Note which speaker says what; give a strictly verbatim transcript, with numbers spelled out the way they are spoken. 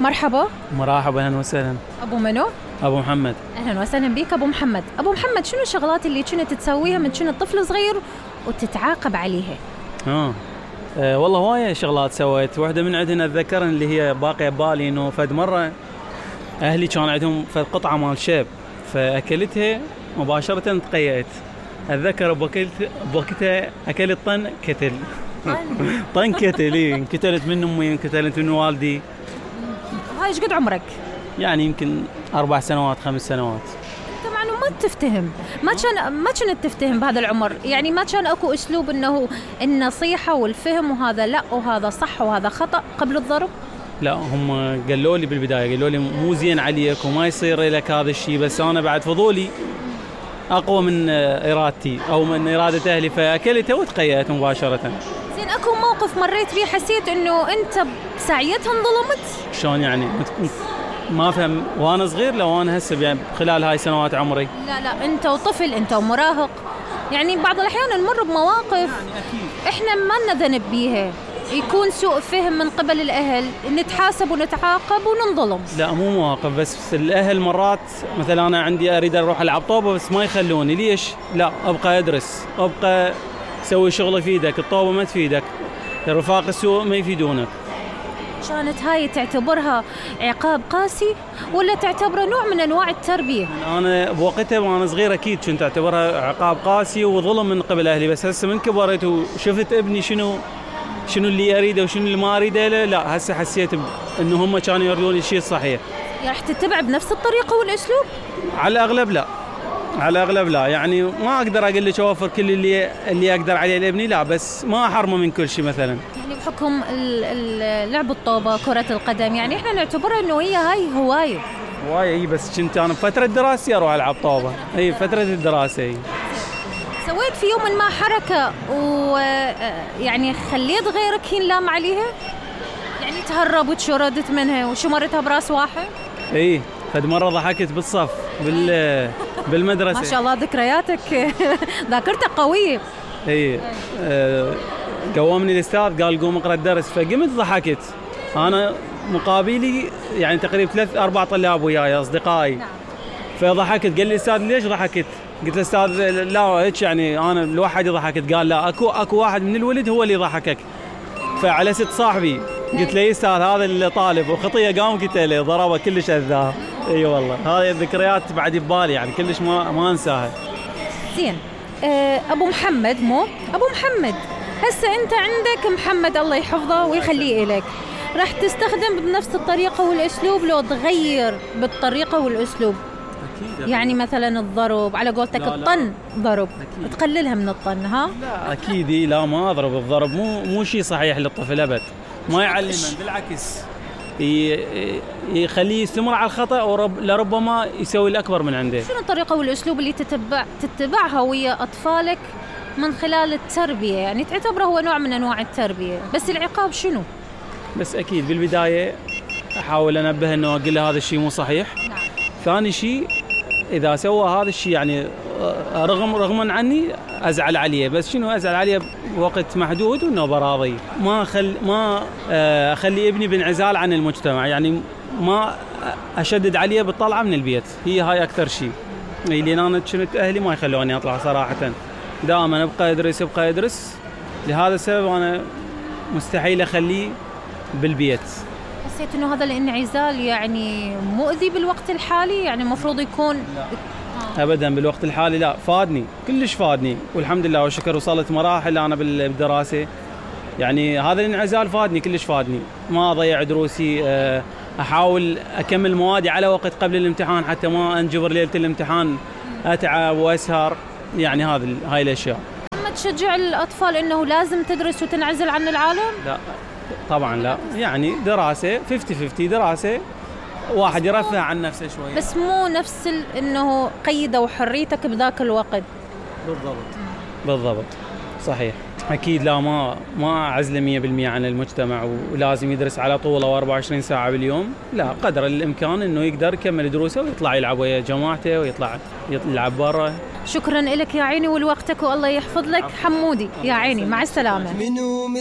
Speaker 1: مرحبا.
Speaker 2: مرحبا، اهلا وسهلا.
Speaker 1: ابو منو؟
Speaker 2: ابو محمد.
Speaker 1: اهلا وسهلا بيك ابو محمد. ابو محمد، شنو الشغلات اللي كنت تسويها من كنت طفل صغير وتتعاقب عليها؟
Speaker 2: اه, أه والله هواية شغلات سويت. واحدة من عندنا اتذكر اللي هي باقية ببالي، انه فد مرة اهلي كان عندهم فد قطعة مال شيب، فاكلتها مباشرة تقيأت. اتذكر بوقتها اكلت طن كتل. طن كتل. ايه انكتلت من امي، انكتلت من والدي.
Speaker 1: هاي ايش قد عمرك؟ يعني
Speaker 2: يمكن اربع سنوات خمس سنوات.
Speaker 1: انت مع انه ما تفتهم، ما كان ما كنت تفتهم بهذا العمر، يعني ما كان اكو اسلوب انه النصيحة والفهم وهذا لا وهذا صح وهذا خطأ قبل الضرب؟
Speaker 2: لا، هم قالوا لي بالبداية، قالوا لي مو زين عليك وما يصير لك هذا الشيء، بس انا بعد فضولي اقوى من ارادتي او من ارادة اهلي، فاكلتها وتقيأت مباشرة.
Speaker 1: زين، اكو موقف مريت بيه حسيت انه انت بساعتها انظلمت؟
Speaker 2: شلون يعني؟ ما فهم. وانا صغير لو وانا هسه يعني خلال هاي سنوات عمري؟
Speaker 1: لا لا، انت وطفل، انت ومراهق، يعني بعض الاحيان نمر بمواقف يعني
Speaker 2: أكيد
Speaker 1: احنا ما لنا ذنب بيها، يكون سوء فهم من قبل الاهل، نتحاسب ونتعاقب وننظلم.
Speaker 2: لا مو مواقف بس، الاهل مرات مثلا انا عندي اريد اروح العب طوبه بس ما يخلوني. ليش؟ لا، ابقى ادرس، ابقى سوي شغل يفيدك، الطوبه ما تفيدك، الرفاق السوء ما يفيدونك.
Speaker 1: كانت هاي تعتبرها عقاب قاسي ولا تعتبره نوع من انواع التربيه؟
Speaker 2: انا بوقتها وانا صغير اكيد كنت اعتبرها عقاب قاسي وظلم من قبل اهلي، بس هسه من كبرت وشفت ابني شنو شنو اللي اريده وشنو اللي ما اريده له، لا هسه حسيت انه هم كانوا يريدون الشيء الصحيح.
Speaker 1: راح تتبع بنفس الطريقه والاسلوب؟
Speaker 2: على الاغلب لا، على الاغلب لا، يعني ما اقدر اقول لك اوفر كل اللي اللي اقدر عليه لابني، لا، بس ما احرمه من كل شيء. مثلا
Speaker 1: يعني بحكم لعب الطوبه، كره القدم، يعني احنا نعتبرها انه هي هاي هوايه.
Speaker 2: هوايه اي، بس كنت انا بفتره دراستي اروح العب طوبه. اي فتره الدراسه. اي
Speaker 1: سويت في يوم ما حركه ويعني خليت غيرك ينلام عليها؟ يعني تهرب وتشردت منها وشمرتها براس واحد؟
Speaker 2: اي، فد مره ضحكت بالصف بال بالمدرسه.
Speaker 1: ما شاء الله ذكرياتك ذاكرتك قويه.
Speaker 2: اي أه قومني الاستاذ قال قوم اقرا الدرس، فقمت ضحكت. انا مقابلي يعني تقريبا ثلاث اربع طلاب وياي اصدقائي. نعم. فضحكت، قال لي الاستاذ ليش ضحكت؟ قلت له استاذ لا هيك يعني انا لوحدي ضحكت. قال لا، اكو اكو واحد من الولد هو اللي ضحكك. فعلى ست صاحبي قلت له استاذ هذا اللي طالب، وخطيه قام قلت له ضربه كلش اذاه. اي والله هذه الذكريات بعد ببالي يعني كلش ما ما انساها.
Speaker 1: زين، أه ابو محمد، مو ابو محمد، هسه انت عندك محمد الله يحفظه ويخليه لك، راح تستخدم بنفس الطريقه والاسلوب لو تغير بالطريقه والاسلوب؟ أكيد. يعني مثلا الضرب على قولتك الطن ضرب، أكيد. تقللها من الطن. ها
Speaker 2: لا اكيد. لا ما اضرب، الضرب مو مو شيء صحيح للطفل ابد، ما يعلمه، بالعكس يخليه يستمر على الخطأ ولربما يسوي الأكبر من عنده.
Speaker 1: شنو الطريقة والأسلوب اللي تتبع تتبعها ويا أطفالك من خلال التربية، يعني تعتبره هو نوع من أنواع التربية، بس العقاب شنو؟
Speaker 2: بس أكيد بالبداية أحاول أنبه أنه أقول له هذا الشيء مو صحيح.
Speaker 1: نعم.
Speaker 2: ثاني شيء إذا سوى هذا الشيء يعني رغم رغما عني أزعل عليه، بس شنو أزعل عليه بوقت محدود وإنه براضي. ما أخل ما أخلي ابني بانعزال عن المجتمع، يعني ما أشدد عليه بالطلعة من البيت، هي هاي أكثر شيء. لأن أنا كنت أهلي ما يخلوني أطلع صراحة، دائما أبقى أدرس أبقى أدرس. لهذا السبب أنا مستحيل أخليه بالبيت.
Speaker 1: حسيت إنه هذا الانعزال يعني مؤذي بالوقت الحالي، يعني المفروض يكون؟
Speaker 2: لا. أبدا بالوقت الحالي لا، فادني كلش فادني، والحمد لله والشكر وصلت مراحل أنا بالدراسة، يعني هذا الانعزال فادني كلش فادني. ما أضيع دروسي، أحاول أكمل موادي على وقت قبل الامتحان حتى ما أنجبر ليلة الامتحان أتعب وأسهر، يعني هذه هاي الأشياء.
Speaker 1: ما تشجع الأطفال إنه لازم تدرس وتنعزل عن العالم؟
Speaker 2: لا طبعا لا، يعني دراسة خمسين خمسين، دراسة واحد يرفه عن نفسه شوي،
Speaker 1: بس مو نفس إنه قيدوا حريتك بذاك الوقت.
Speaker 2: بالضبط بالضبط صحيح. أكيد لا، ما ما أعزله مية بالمية عن المجتمع ولازم يدرس على طول أو أربعة وعشرين ساعة باليوم، لا، قدر الإمكان إنه يقدر يكمل دروسه ويطلع يلعب ويا جماعته ويطلع يلعب برا.
Speaker 1: شكرا لك يا عيني ولوقتك والله يحفظ لك حمودي. يا عيني مع السلامة.